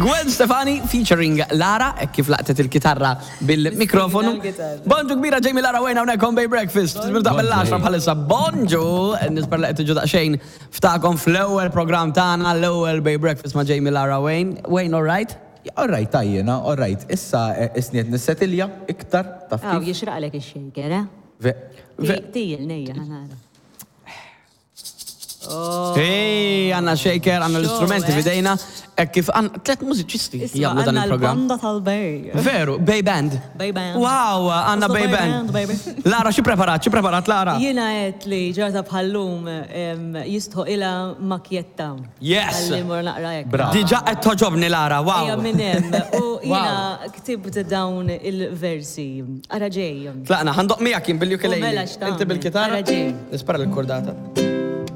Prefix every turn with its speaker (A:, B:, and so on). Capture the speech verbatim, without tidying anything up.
A: Gwen Stefani featuring Lara, hekk kif laqtet il-kitarra bil-mikrofonu.
B: Il-kitarra.
A: Bonġu kbira, Jamie, Lara, Wayne hawnhekk on Bay Breakfast. Nibda mill-għaxra bħalissa. Bonġu, nispera li qed tiġu daqsxejn ftakom fl-ewwel programm tagħna, l-ewwel Bay Breakfast ma' Jamie, Lara, Wayne. Wayne, all right?
C: All right, tajjena, all right. Issa eh, isniet nissetilja iktar, taf
B: Aw,
C: kif?
B: jixraqlek ix-shaker, eh?
C: Ve-
A: Ve-
B: Tijil, nejja, ħa nara.
A: Hey, għandna shaker, għandna l-istrumenti
B: eh?
A: f'idejna. Hekk kif għandna tlet mużiċisti
B: Isma,
A: jagħmlu dan
B: għandna
A: il-programm.
B: l-banda tal-Bay.
A: Veru, Bay Band.
B: Bay Band.
A: Wow, għandna
B: What's the
A: Bay
B: Bay
A: Band.
B: Band, baby?
A: Lara, xi preparat, xi preparat, Lara?
B: Jiena għedt li ġurnata bħal-lum jistħoqqilha makjetta.
A: Yes!
B: Għalli mor naqra hekk.
C: Bravo.
A: Diġà qed togħġobni, Lara, wow.
B: Ejja minn hemm. U jiena ktibt dawn il-versi. Ara ġej.
A: Tlaqna, ħa ndoqq miegħek jien bil-ukulele.
B: U mela x'tagħmel?
A: Inti bil-kitarra?
B: Ara ġej.
A: Nispara l-kordata.